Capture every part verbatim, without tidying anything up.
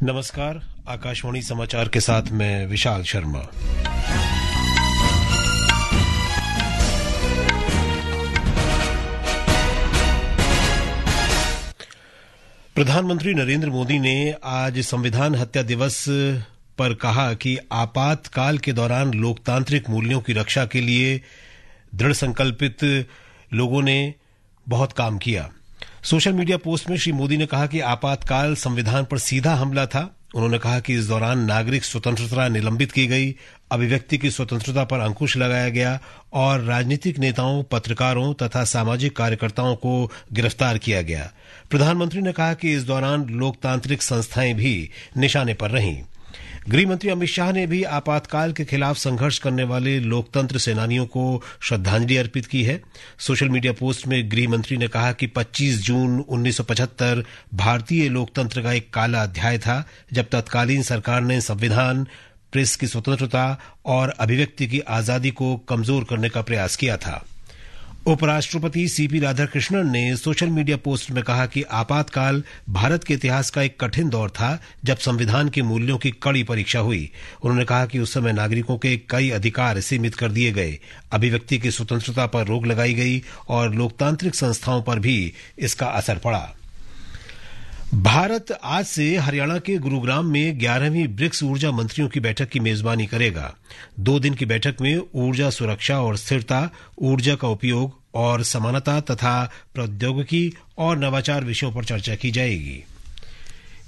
नमस्कार, आकाशवाणी समाचार के साथ मैं विशाल शर्मा। प्रधानमंत्री नरेंद्र मोदी ने आज संविधान हत्या दिवस पर कहा कि आपातकाल के दौरान लोकतांत्रिक मूल्यों की रक्षा के लिए दृढ़ संकल्पित लोगों ने बहुत काम किया। सोशल मीडिया पोस्ट में श्री मोदी ने कहा कि आपातकाल संविधान पर सीधा हमला था। उन्होंने कहा कि इस दौरान नागरिक स्वतंत्रता निलंबित की गई, अभिव्यक्ति की स्वतंत्रता पर अंकुश लगाया गया और राजनीतिक नेताओं, पत्रकारों तथा सामाजिक कार्यकर्ताओं को गिरफ्तार किया गया। प्रधानमंत्री ने कहा कि इस दौरान लोकतांत्रिक संस्थाएं भी निशाने पर रहीं। गृह मंत्री अमित शाह ने भी आपातकाल के खिलाफ संघर्ष करने वाले लोकतंत्र सेनानियों को श्रद्धांजलि अर्पित की है। सोशल मीडिया पोस्ट में गृह मंत्री ने कहा कि पच्चीस जून उन्नीस सौ पचहत्तर भारतीय लोकतंत्र का एक काला अध्याय था, जब तत्कालीन सरकार ने संविधान, प्रेस की स्वतंत्रता और अभिव्यक्ति की आजादी को कमजोर करने का प्रयास किया था। उपराष्ट्रपति सीपी राधाकृष्णन ने सोशल मीडिया पोस्ट में कहा कि आपातकाल भारत के इतिहास का एक कठिन दौर था, जब संविधान के मूल्यों की कड़ी परीक्षा हुई। उन्होंने कहा कि उस समय नागरिकों के कई अधिकार सीमित कर दिए गए, अभिव्यक्ति की स्वतंत्रता पर रोक लगाई गई और लोकतांत्रिक संस्थाओं पर भी इसका असर पड़ा। भारत आज से हरियाणा के गुरुग्राम में ग्यारहवीं ब्रिक्स ऊर्जा मंत्रियों की बैठक की मेजबानी करेगा। दो दिन की बैठक में ऊर्जा सुरक्षा और स्थिरता, ऊर्जा का उपयोग और समानता तथा प्रौद्योगिकी और नवाचार विषयों पर चर्चा की जाएगी।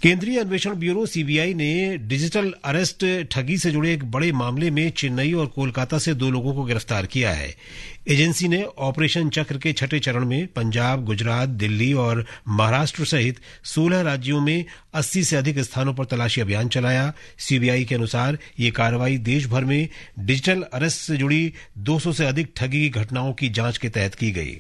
केंद्रीय अन्वेषण ब्यूरो, सीबीआई, ने डिजिटल अरेस्ट ठगी से जुड़े एक बड़े मामले में चेन्नई और कोलकाता से दो लोगों को गिरफ्तार किया है। एजेंसी ने ऑपरेशन चक्र के छठे चरण में पंजाब, गुजरात, दिल्ली और महाराष्ट्र सहित सोलह राज्यों में अस्सी से अधिक स्थानों पर तलाशी अभियान चलाया। सीबीआई के अनुसार, ये कार्रवाई देश भर में डिजिटल अरेस्ट से जुड़ी दो सौ से अधिक ठगी की घटनाओं की जांच के तहत की गई।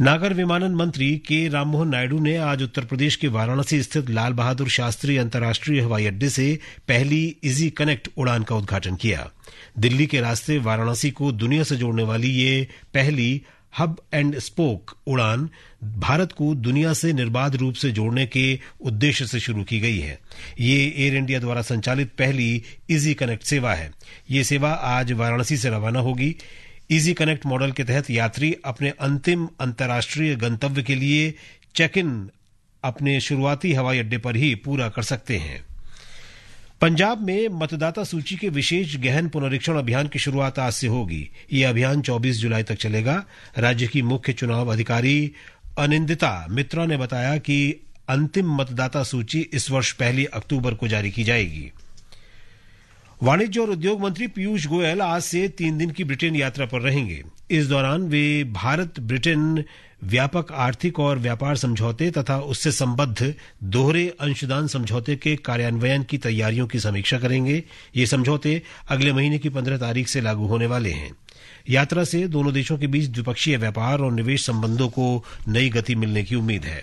नागर विमानन मंत्री के राममोहन नायडू ने आज उत्तर प्रदेश के वाराणसी स्थित लाल बहादुर शास्त्री अंतर्राष्ट्रीय हवाई अड्डे से पहली इजी कनेक्ट उड़ान का उद्घाटन किया। दिल्ली के रास्ते वाराणसी को दुनिया से जोड़ने वाली ये पहली हब एंड स्पोक उड़ान भारत को दुनिया से निर्बाध रूप से जोड़ने के उद्देश्य से शुरू की गई है। ये एयर इंडिया द्वारा संचालित पहली इजी कनेक्ट सेवा है। ये सेवा आज वाराणसी से रवाना होगी। इजी कनेक्ट मॉडल के तहत यात्री अपने अंतिम अंतर्राष्ट्रीय गंतव्य के लिए चेक इन अपने शुरुआती हवाई अड्डे पर ही पूरा कर सकते हैं। पंजाब में मतदाता सूची के विशेष गहन पुनरीक्षण अभियान की शुरुआत आज से होगी। ये अभियान चौबीस जुलाई तक चलेगा। राज्य की मुख्य चुनाव अधिकारी अनिंदिता मित्रा ने बताया कि अंतिम मतदाता सूची इस वर्ष पहली अक्टूबर को जारी की जाएगी। वाणिज्य और उद्योग मंत्री पीयूष गोयल आज से तीन दिन की ब्रिटेन यात्रा पर रहेंगे। इस दौरान वे भारत ब्रिटेन व्यापक आर्थिक और व्यापार समझौते तथा उससे संबद्ध दोहरे अंशदान समझौते के कार्यान्वयन की तैयारियों की समीक्षा करेंगे। ये समझौते अगले महीने की पन्द्रह तारीख से लागू होने वाले हैं। यात्रा से दोनों देशों के बीच द्विपक्षीय व्यापार और निवेश संबंधों को नई गति मिलने की उम्मीद है।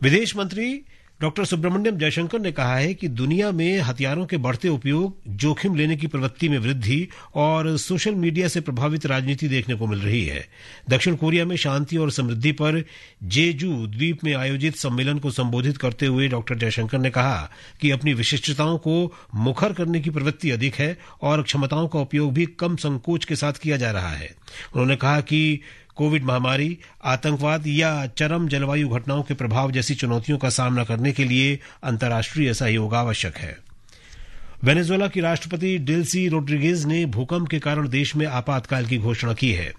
विदेश मंत्री डॉक्टर सुब्रमण्यम जयशंकर ने कहा है कि दुनिया में हथियारों के बढ़ते उपयोग, जोखिम लेने की प्रवृत्ति में वृद्धि और सोशल मीडिया से प्रभावित राजनीति देखने को मिल रही है। दक्षिण कोरिया में शांति और समृद्धि पर जेजू द्वीप में आयोजित सम्मेलन को संबोधित करते हुए डॉक्टर जयशंकर ने कहा कि अपनी विशिष्टताओं को मुखर करने की प्रवृत्ति अधिक है और क्षमताओं का उपयोग भी कम संकोच के साथ किया जा रहा है। उन्होंने कहा कि कोविड महामारी, आतंकवाद या चरम जलवायु घटनाओं के प्रभाव जैसी चुनौतियों का सामना करने के लिए अंतर्राष्ट्रीय सहयोग आवश्यक है। वेनेजुएला की राष्ट्रपति डेल्सी रोड्रिगेज ने भूकंप के कारण देश में आपातकाल की घोषणा की है।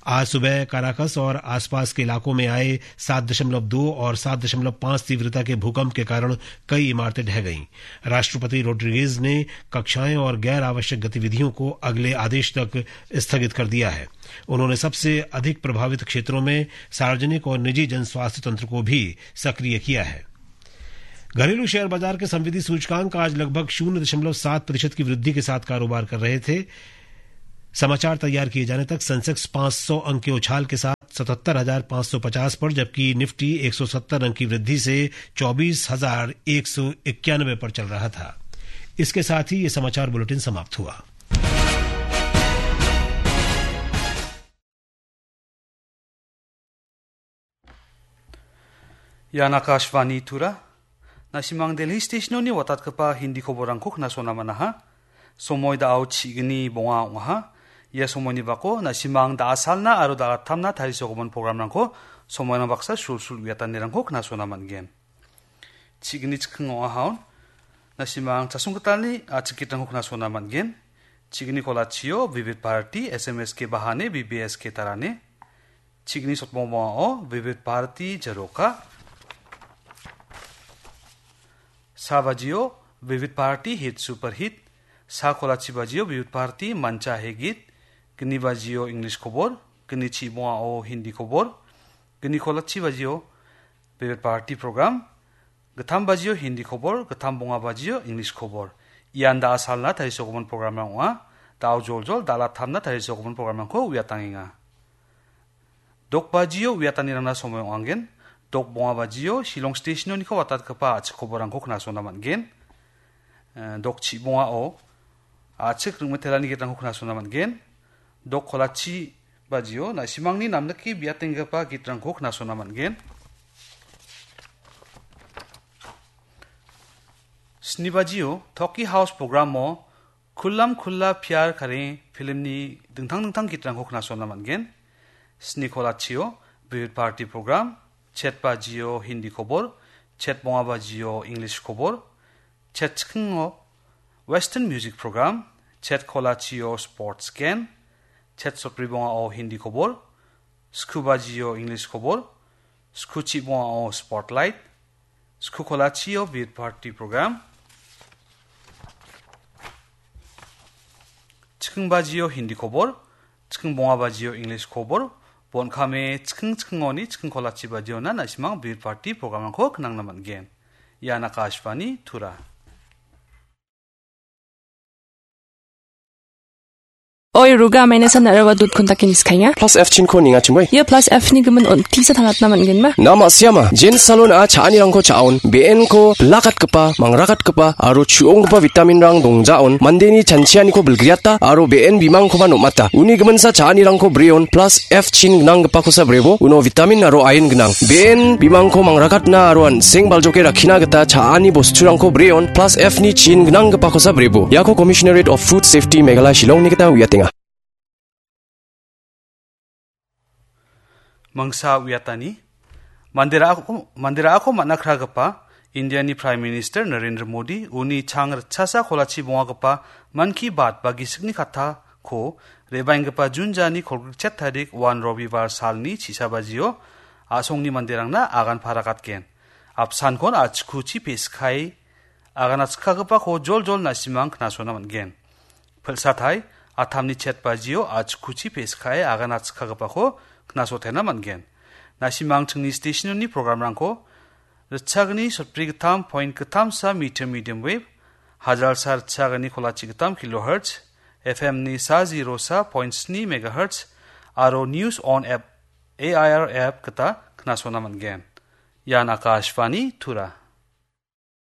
आज सुबह काराकस और आसपास के इलाकों में आए सात दशमलव दो और सात दशमलव पाँच तीव्रता के भूकंप के कारण कई इमारतें ढह गईं। राष्ट्रपति रोड्रिगेज ने कक्षाएं और गैर आवश्यक गतिविधियों को अगले आदेश तक स्थगित कर दिया है। उन्होंने सबसे अधिक प्रभावित क्षेत्रों में सार्वजनिक और निजी जन स्वास्थ्य तंत्र को भी सक्रिय किया है। घरेलू शेयर बाजार के संविदा सूचकांक आज लगभग शून्य दशमलव सात प्रतिशत की वृद्धि के साथ कारोबार कर रहे थे। समाचार तैयार किए जाने तक सेंसेक्स पाँच सौ अंक के उछाल के साथ सतहत्तर हजार पाँच सौ पचास पर, जबकि निफ्टी एक सौ सत्तर अंक की वृद्धि से चौबीस हजार एक सौ इक्यानवे पर चल रहा था। इसके साथ ही ये समाचार बुलेटिन समाप्त हुआ। Ian Akashvani Tura. Na·simang Delhi Station-oni watatgipa Hindi koborrangko knasona man·aha. Somoi da·o chi·gni bonga ong·aha. Ia somoini bako na·simang da·asalna aro da·alattamna tarisogimin programrangko somoirang baksa sulsul uiatanirangko knasona man·gen. Chi·gni chikking ong·ahaon na·simang chasonggitalni a·chik gitrangko knasona man·gen. Chi·gni kolachio Vivid Bharati, S M S K Bahane, B B S K Tarane. Chi·gni sotbongbongao Vivid Bharati Jaroka. Sa bajio Vivid Bharati Hit Super Hit. Sa kolachi bajio Vivid Bharati Mancha He Git. Gni bajio English kobor. Gni chibongao Hindi kobor. Gni kolachi bajio Vivid Bharati program. Gittam bajio Hindi kobor, gittam bonga bajio English kobor. Ian da·asalna tarisogimin programrang ong·a. Da·o joljol da·alattamna tarisogimin programrangko uiatangenga. Dok bajio uiatanirangna somoi ong·angen. Dok bonga bajio Shillong Station-oniko watatgipa a·chik koborrangko knasona man·gen. Eh, dok chibongao a·chik ring·mitelani gitrangko knasona man·gen. Dok kolachi bajio na·simangni namnike biatenggipa gitrangko knasona man·gen. Sni bajio Toki House programo Kullam Kulla Pyar Kare filmni dingtang dingtang gitrangko knasona man·gen. Sni kolachio Vivid Bharati program, chet bajio Hindi kobor, chet bonga bajio English kobor, chet chikingo Western music program, chet kolachio sports gen, chet sotbri bongao Hindi kobor, sku bajio English kobor, sku chibongao spotlight, sku kolachio Vivid Bharati program, chiking bajio Hindi kobor, chiking bonga bajio English kobor, bon kame chiking chikingoni chiking kolachi bajiona na·simang Vivid Bharati programrangko knangna man·gen. Ian Akashvani Tura. Oi, Ruga, maina san nara wa dut kontak ini skanya. Plus F chin ko ninga chimoi. Ia plus F ni gimin on tisa thalatna man gen ma. Nama siama, Jen Salon a cha·anirangko cha·on, B N ko bilakatgipa, mangrakatgipa, aro chu·onggipa vitamin rang dongjaon, mandeni chanchianiko bilgriata, aro B N bimangkoba nom·ata. Uni giminsa cha·anirangko breon, plus F chin gnanggipakosa brebo, uno vitamin aro iron gnang. B N bimangko mangrakatna aro an·seng baljoke rakkina gita cha·ani bosturangko breon, plus F ni chin gnanggipakosa brebo. Iako Commissionerate of Food Safety Meghalaya Shillongni gita uiatenga. Mangsa uiatani, mandera-, mandera-, ako man·a kragipa Indiani Prime Minister Narendra Modi uni chang ritchasa kolachi bongagipa Mann Ki Baat ba gisikni kattako re·baenggipa Jun jani kolgrikchet tarik wan Robibar salni chisabajio a·songni manderangna agan parakatgen. Apsankon a·chikuchi pe·sikae aganatskagipako joljol na·simang knasona man·gen. Pilsatai, atamni chet bajio a·chikuchi pe·sikae aganatskagipako knasotena man·gen. Na·simang chingni station-oni programrangko ritchagni sotbri gittam point gittamsa meter medium wave, hajalsa ritchagni kolachi gittam kilohertz, F M ni sa zero sa point sni megahertz, aro News On app, A I R app gita knasona man·gen. Ian Akashvani Tura.